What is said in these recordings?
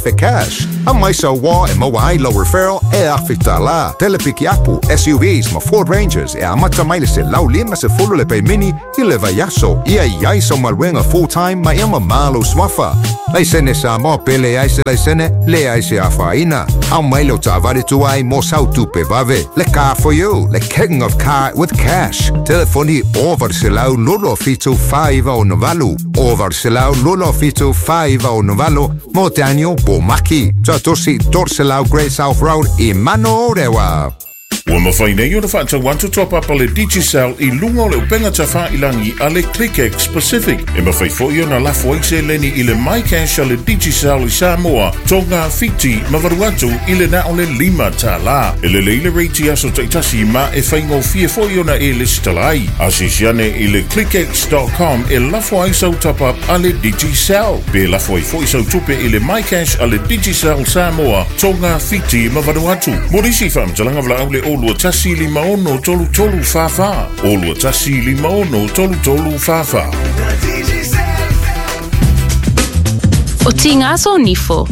1,000 cash. Aumai sau uoa e maua ai lau referral e $1,000. Tele pikiapu, SUVs ma Ford Rangers e amata mai le 150 le paemini i le vaiaso. Ia i ai sau galuega full time ma ia mamā lou suafa. Laisene Samoa pe leai se laisene, leai se afaina. Aumai lau taavale tuai mo sau tupe vave. Le car for you, le king of car with cash. Telefoni 800 27 4968. 800 27 4968 mo Daniel Bomaki. Tuatosi 300 Great South Road i Manorewa. Ua mafai nei ona faatau atu top-up a le Digicel i luga o le upega tafailagi a le ClickX Pacific. E mafai foi ona lafo ai seleni i le MyCash a le Digicel i Samoa, Tonga, Fiti ma Vanuatu i le na o le $5. E lelei le rate i aso taitasi ma e faigofie foi ona e lesitala ai. Asiasi ane i le clickx.com e lafo ai sau top-up a le Digicel. Pe lafo ai foi sau tupe i le MyCash a le Digicel Samoa, Tonga, Fiti ma Vanuatu. Mo nisi faamatalaga valaau le 021 56 33 44. 021 56 33 44. O Tigaso Nifo.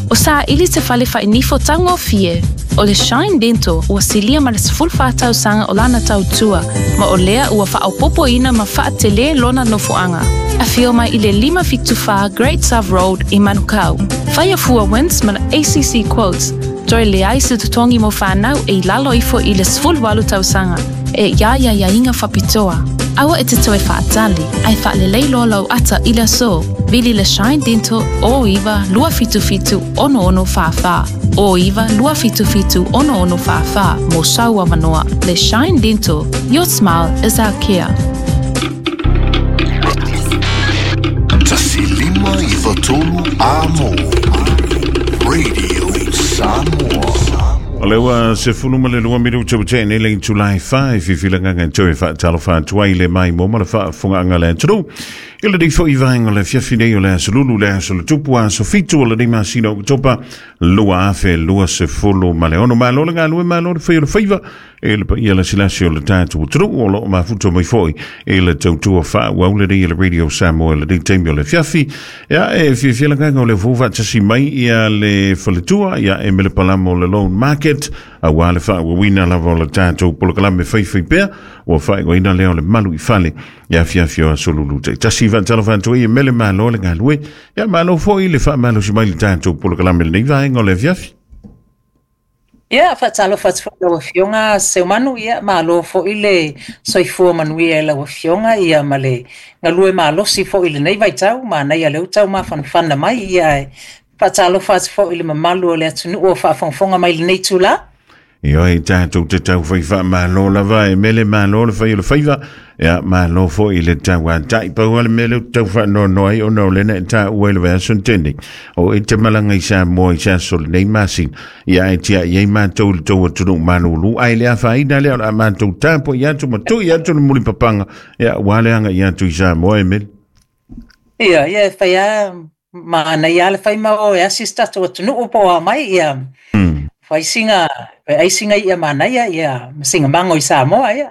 O saili se fale fainifo taugofie. O le Shine Dental ua silia ma le 14 tausaga o lana tautua, ma o lea ua faaopoopoina ma faatelē lona nofoaga. Afio mai i le 574 Great South Road i Manukau. Faia fua WINZ ma le ACC Quotes, toe leai se totogi mo fanau e i lalo ifo i le 18 tausaga. E ia ia iaiga faapitoa. Aua e te toe faatali, ae faalelei loa lau ata i le aso. Vili le Shine Dental 09 277 6644. 09 277 6644 mo sau avanoa. Le Shine Dental, your smile is our care. 1 5 9 3 Amo Radio Samoa. O le ua 12 minuta ua tea nei le itula e 4 e fiafia le agaga e toe faatalofa atu ai le maimoa ma le faafofogaaga a le atunuu. I lenei foi vaega o le afiafi nei o le aso Lulu le aso le tupu aso 7 o lenei masina o Oketopa 2026. Malo le galue, malo le fai o le faiva e le paia lasilasi o le tatou atunuu o loo mafuta mai foi i le tautua faaauau lenei e le Radio Samoa i lenei taimi o le afiafi. Ia e fiafia le agaga o le fou faatasi mai ia le faletua ia e mele palama o le Loan Market auā le faaauauina lava o le tatou polokalame faifai pea ua faaigoaina lea o le malu i fale i afiafi o aso Lulu taitasi. Faatalofa atu ai e mele, malo le galue, ia malo foi le faamalosi mai le tatou polokalame lenei vaega o le afiafi. Ia, faatalofa atu foi i lau Afioga Seumanu, ia malo foi le soifua manuia i lau Afioga ia ma le galue malosi foi i lenei vaitau, manaia lea ua tau mafanafana mai, ia e faatalofa atu foi i le mamalu o le atunuu o faafogafoga mai i lenei itula. Ioe, tatou te tau fai faamalo lava e mele, malo le fai o le faiva, ia malo foi i le tauatai. Pau lava le mea lea ou te tau faanoanoa ai ona o lea na e taua i le vaiaso na tea nei, o e te malaga i Samoa i se aso lenei masina, ia ae tiai ai matou i le tou atunuu malulu, ae le afaina lea o le a matou tapuai atu ma tui atu le mulipapaga, ia aua le agai atu i Samoa e mele. Ia, ia e fai lava manaia lava le fai ma o e asi se tatou atunuu po o a mai, ia fai sina, ai sina i'a manaia, ia ma sina mago i Samoa, ia.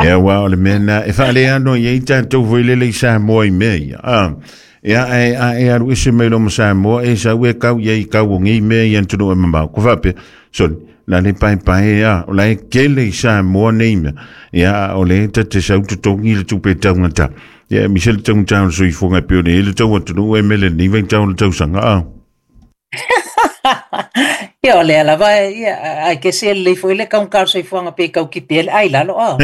Ia, aua o le mea na e faaleano i ai tatou foi lele i Samoa i mea ia. Ah, ia ae a e alu ese mai loa ma Samoa e sau e kau i ai i kau o nei mea i atunuu e mamao. Ko faapea, soni, la le paepae a, o la e tele i Samoa nei mea. Ia, a o le ta te sau totogi le tupe taugata. Ia, e mise le taugata o le soifuaga e pei ona i ai le tau atunuu e mele lenei vaitau o le tausaga. Ah. Ia, o lea lava, ia, ae kese e lelei foi le taugata o le soifuaga pe tau tipi ai le ai lalo, ah.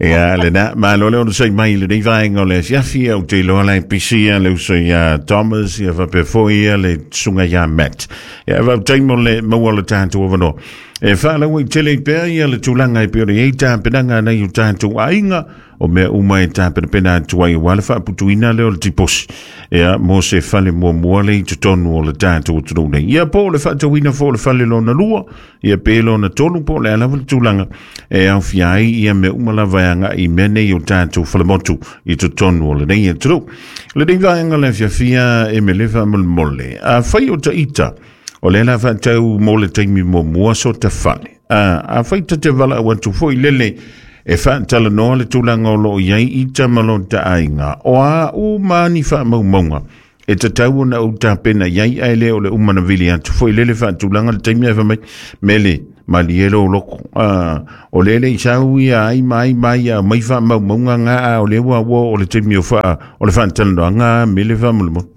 Ia, lena, malo le onosai mai i lenei vaega o le afiafi, ou te iloa la e pisi ia le uso ia Thomas, ia faapea foi ia le susuga ia Matt. Ia, faafetai mo le maua o le tatou avanoa. E faalauaitele ai pea ia le tulaga e pei ona i ai tapenaga a nai o tatou aiga, o mea uma e tapenapena atu ai aua le faaputuina lea o le tiposi ia mo se fale muamua le i totonu o le tatou atunuu nei. Ia po o le faatauina foi o le fale lona lua, ia pe lona tolu po o le a lava le tulaga e aofia ai ia mea uma lava e agai i mea nei o tatou falemotu i totonu o lenei atunuu. Lenei vaega le afiafia e mele faamolemole. Afai o taita, o lea la faatau mo le taimi muamua so ta fale. Afai ta te valaau atu foi lele E faatalanoa le tulaga o loo i ai ita ma lota aiga. O a uma ni faamaumauga e tatau ona ou tapena i ai, ae le o le uma na vili atu foi lele faatulaga le taimi ae fai mai mele malie lo loko. O lele i sau ia ai mai mai ia mai faamaumauga nga a o le ua ua o le taimi o faa o le faatalanoaga mele faamolemole.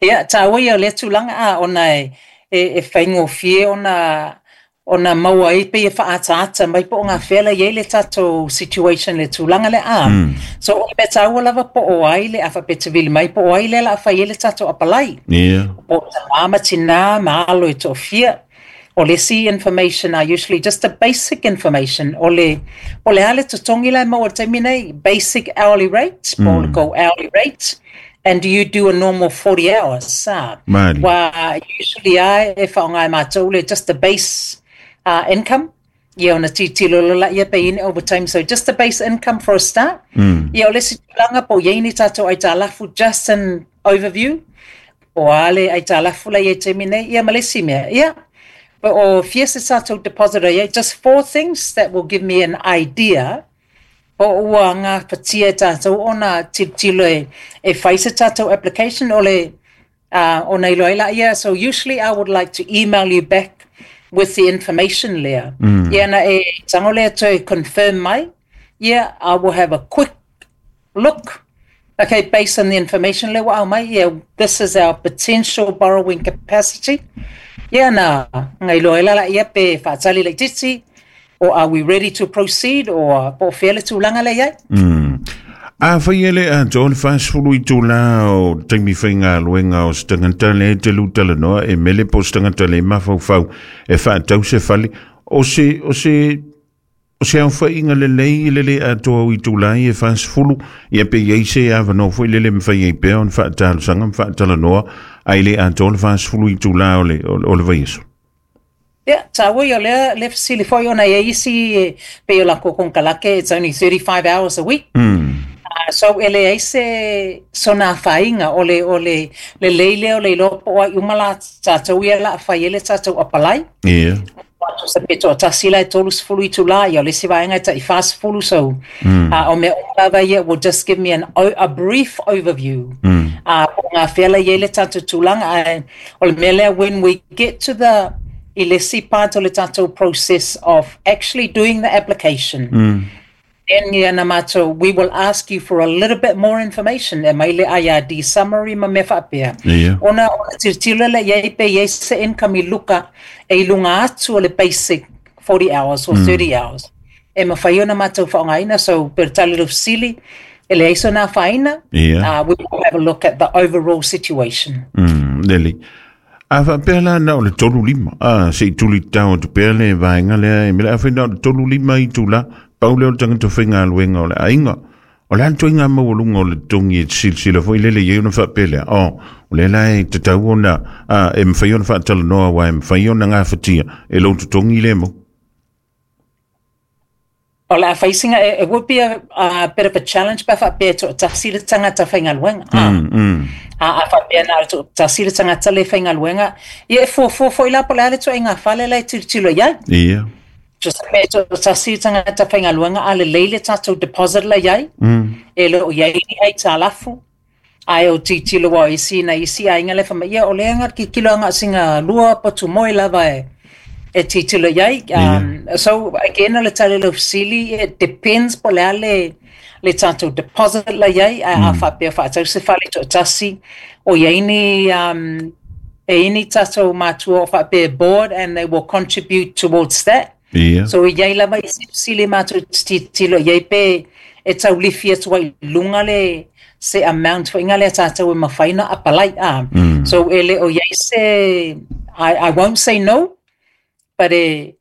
Ia, tāua ia o lea tulaga a ona e whaingofie ona maua ai pe e whaataata mai po o ngā whela i le tātou situation le tulaga le a. So o le mea tāua lava po o ai le awha pe te vili mai po o ai le la whai le tātou apalai. Yeah. Po o tamama tina ma alo e to'ofia. O le isi information are usually just the basic information. O le ale totongi lai maua taimi nei, basic hourly rate, po o le go hourly rate. And do you do a normal 40 hours? Wa usually ai e whaongai mātou le just the base income. Ia ona titilo lola ia pe in overtime. So just the base income for a start. Ia o le si tulaga po iai ni tātou ai tālafu, just an overview. O ale ai tālafu la ia taimi nei, ia malesi mea. Ia, but o fia se tātou deposit ia, just four things that will give me an idea. O ua ngā patia tātou ona titilo e whai se tātou application o le ona iloa ila ia. So usually I would like to email you back with the information lea. Ia na e tango lea to confirm mai. Yeah, I will have a quick look. Okay, based on the information lea wa au mai, yeah, this is our potential borrowing capacity. Yeah, na ngai iloa ila la ia pe whaatali le titi. Or are we ready to proceed, or po whea le tūlanga le iai? A whai ele a tō le whasfulu i tūlā o taimi whainga luenga o stangata le te lutala noa e mele po stangata le mawhauwhau e whaatau se whale o se au whainga le lei le a tō i tūlā e whasfulu ia pe iei se a whanau fwoi lele mwhai e pēo n whaatalu sanga mwhaatala noa a ile a tō le whasfulu i tūlā o le vaiaso. Yeah, tāua ia lea le fasili foi ona ia isi pe o la kokonkalake, it's only 35 hours a week. So ele ai se sona whainga o le le leile o le ilopo ai umala tātou ia la whai ele tātou apalai. Yeah. Sa peto tasila e tolu sefulu i tula ia le si vaenga ta i fast fulu so. O mea lava ia will just give me a brief overview. O ngā whela ia le tātou tūlanga o le mea lea when we get to the ilesi part o le tātou process of actually doing the application. Then ia na mātou, we will ask you for a little bit more information. E mai le IRD summary ma me whaapea. Yeah. Ona tiltilo le iei pe iei se income i luka e i lunga atu o le basic 40 hours or 30 hours. E mawhai ona mātou whaongaina, so per tali lo sili, e le eiso nā whaina, Yeah. We will have a look at the overall situation. Lele. A whapea la na o le 35. Se i tuli tau tu pea le vaenga lea e mele a whaina o le 35 i tula, pau leo le tangata whainga aluenga o le ainga. O le anto inga mawalunga o le tongi e silsila fo i lele iei ona whapea lea. O le la e te tau ona, e mwhai ona whaatala noa wa e mwhai ona ngā whatia e lo te tongi le mo. O la whaisinga, it would be a bit of a challenge, but whapea to tasira tangata whainga luenga. A whapea nā to tasira tangata le whainga luenga. Ia e fo i lapo le ale to e ngā whale le tiro iai. Yeah. Just me to tasira tangata whainga luenga a le leile tātou deposit la iai. E lo iai ni hei tālafu. Ai o titilo wa isi na isi a inga le whama. Ia o le anga ki kilo anga singa lua patu moi lava e. E titilo iai. So again, le tale lo sili, it depends po le le tātou deposit la iai, a whapea whaatau se whale to tasi, o iai ni, e ini tātou mātua o whapea board and they will contribute towards that. Yeah. So iai lava i sili mātou titilo iai pe e tau lifi atu ai lunga le se amount fo inga le tātou e mawhaina apalai. So ele o iai se, I won't say no, but e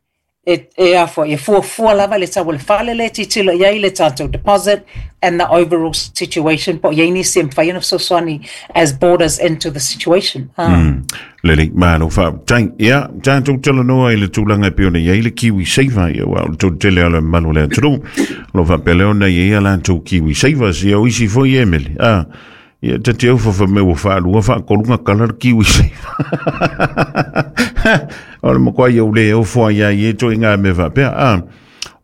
e fua lava le tau le whale le titilo iai le tātou deposit and the overall situation po iai ni se mwhai ana soswani as borders into the situation. Lele, malo wha, tai, ia, tātou tala noa i le tūlanga e piona iai le Kiwi Saver, ia wa, o tō tele ala malo le aturu, lo wha pele ona iai ala tō Kiwi Saver, si au isi fo i emele, ia te te au whawha me wa whaalua, whaakolunga kala le Kiwi Saver. O le makoa iau le au fua ia i e tō i ngā me whapea.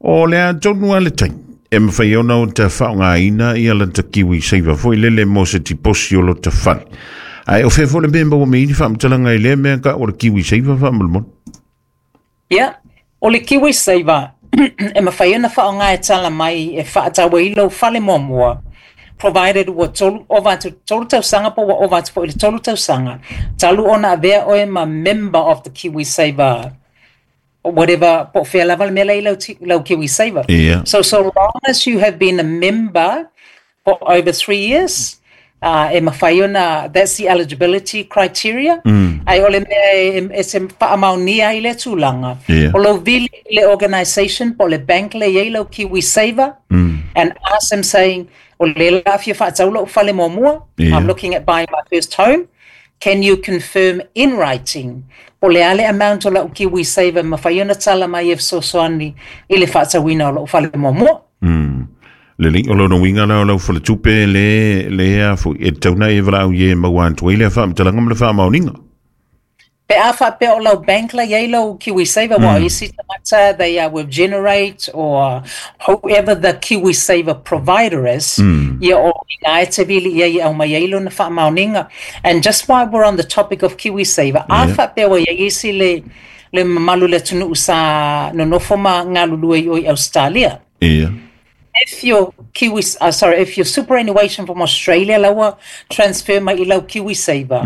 O le a tonu a le taimi e mawhai ona o te whaongaina i ala ta kiwi seiva foi lele mo se tiposi o lo ta fale. Ai o whea le mea maua me ini whaamatalanga i lea mea ka o le kiwi seiva whaamalamona. Ia, o le kiwi saver e mawhai ona whaonga e tala mai e whaatawa i lau fale muamua, provided ua tolu, ova atu tolu tausaga po ua ova atu foi i le 3 tausaga talu ona avea oe ma member of the kiwi saver, whatever, po o fea lava le mea la i lau, lau kiwi saver. So long as you have been a member for over 3 years, e mawhai ona, that's the eligibility criteria. Ai o le mea e se whaamaonia ai le tulaga. O lau vili i le organisation po o le bank le iai lau kiwi saver and ask them saying, o le la fia whaatau lau fale muamua, I'm looking at buying my first home. Can you confirm in writing po le a le amount o lau kiwi saver mawhai ona tala mai e fesoasoani i le whaatauina o lau fale muamua? Le o lona winga la o lau fale tupe le a fo e tauna e wala au ye maua antu i le whaamatalanga ma le whaamaoninga. Pe a whaapea o lau bank la iai lau kiwi saver, wa isi tagata they are with Generate or whoever the kiwi saver provider is, ia o ina e te vili ia i au mai ai lona whaamaoninga. And just while we're on the topic of kiwi saver, a whaapea wa iai isi le mamalu le atunuu sa nonofo ma galulue i o i Australia. If your Kiwi, sorry, if your superannuation from Australia laua transfer mai i lau Kiwi Saver,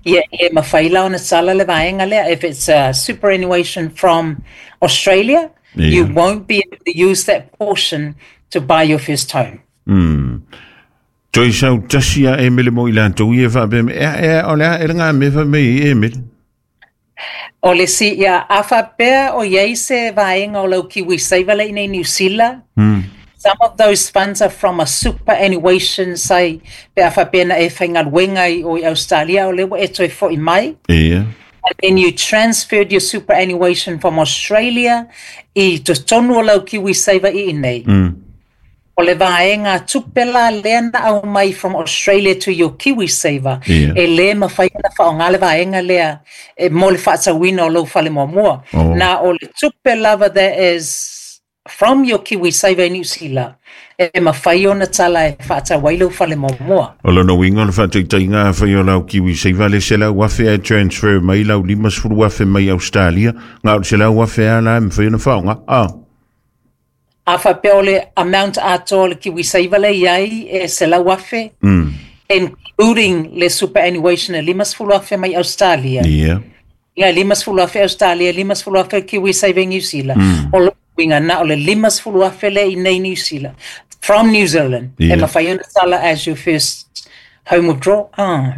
ia e mawhai la ona tala le vaenga lea. If it's a superannuation from Australia, you won't be able to use that portion to buy your first home. Toi sau tasi a Emily mo i lantou i e whaape me, e, e, o lea, e ngā me wha me i Emily. O le si, ia, a whapea o iai se vaenga o lau Kiwi Saver le inei New Zealand, some of those funds are from a superannuation say pe a whapea na e whaingaluenga i o i Australia o lewa e toi fo i mai. And then you transferred your superannuation from Australia i totonu o lau Kiwi Saver i inei. O le vaenga tupe la lea na au mai from Australia to your Kiwi Saver. E le mawhai na whaonga le vaenga lea e mo le whaatauina o lau fale muamua. Na o le tupe lava that is from your Kiwi Saver in New Zealand e mawhai ona tala e whaatau ai lau fale muamua. O lona winga o le whaataitaiga a whai o lau kiwi seiva le se lau afe e transfer mai lau 50 afe mai Australia. Ngā o se lau afe a la e mwhai ona whaonga. Ah. A whapea o le amount atoa o le Kiwi Saver le iai e se lau afe, including le superannuation e 50,000 mai Australia. Ia 50,000 Australia, 50,000 Kiwi Saver New Zealand. O lo winga na o le 50,000 le i nei New Zealand. From New Zealand. E mawhai ona tala as your first home withdrawal. Ah.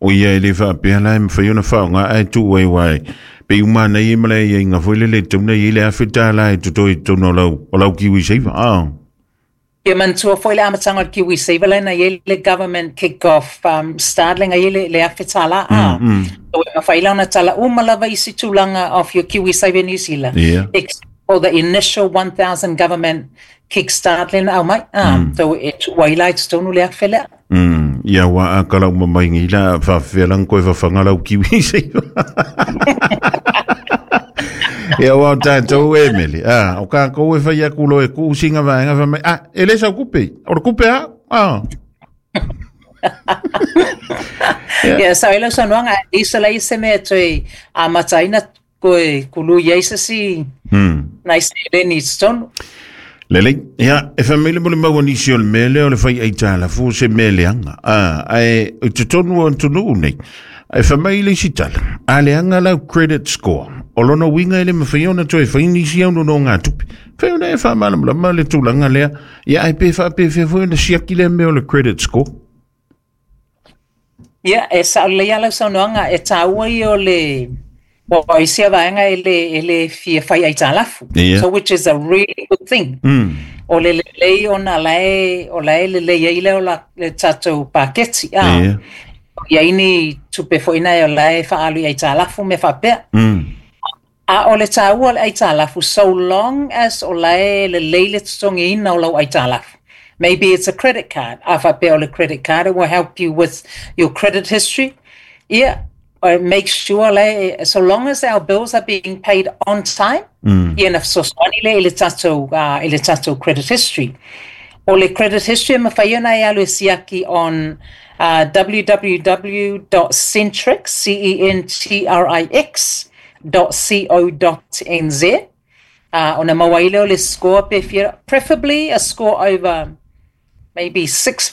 O ia e le whaapea la e mwhai ona whaonga ai tu wai wai. Pe umana i mala i ngā foi le le tauna i le afe tā la e toto i tono o lau kiwi seiva. Ah. Ia manatua foi le amataga o le Kiwi Saver lena i le government kick off start lenga i le afe tālā a. So e mawhai la ona tala uma lava isi tulaga of your Kiwi Saver New Zealand. Except for the initial 1000 government kickstart lena au mai. Ah. So e tuai la i totonu le afe lea. Ia wa a kala uma mai ngi la whawhelang koe whawhanga lau kiwi seiva. Ia wa o tātou Emily. Ah, o ka kou e whai aku lo e ku singa vaenga wha mai. Ah, e le sau kupe. O le kupe a? Ah. Yeah, so ilo saunoaga isa la ise mea toe a mataina koe kulu i ai se si nai seleni i totonu. Lelei, ia, e whamele mo le maua nisi o le mele o le whai ai tāla fo se mele anga. Ah, ai, o te tonu o antunu nei. E whamai le isi tala. A le anga lau credit score. O lona winga ele mawhai ona toe whai nisi au no ngā tupe. Whai ona e whamalamalama le tūlanga lea. Ia, ai pe wha pe whai ona siaki le mea o le credit score. Ia, e sa le ia lau saunoaga e tāua i o le wa isi a vaenga e le fia fai ai tālafu. So which is a really good thing. O le lelei ona lae o lae le lei ai le o la le tātou paketi. Ah. Ia ini tupe foi na e o lae whaalu i ai tālafu me whapea. A o le tāua le ai tālafu, so long as o lae le lei le totongi ina o lau ai tālafu. Maybe it's a credit card. A whapea o le credit card, it will help you with your credit history. Ia, Make sure le, so long as our bills are being paid on time, ia na fesoasoani lea i le tatou credit history. O le credit history e mafai ona e alu e siaki on www.centrix, C-E-N-T-R-I-X, .co.nz. Ona maua ai lea o le score pe fia, preferably a score over maybe 650.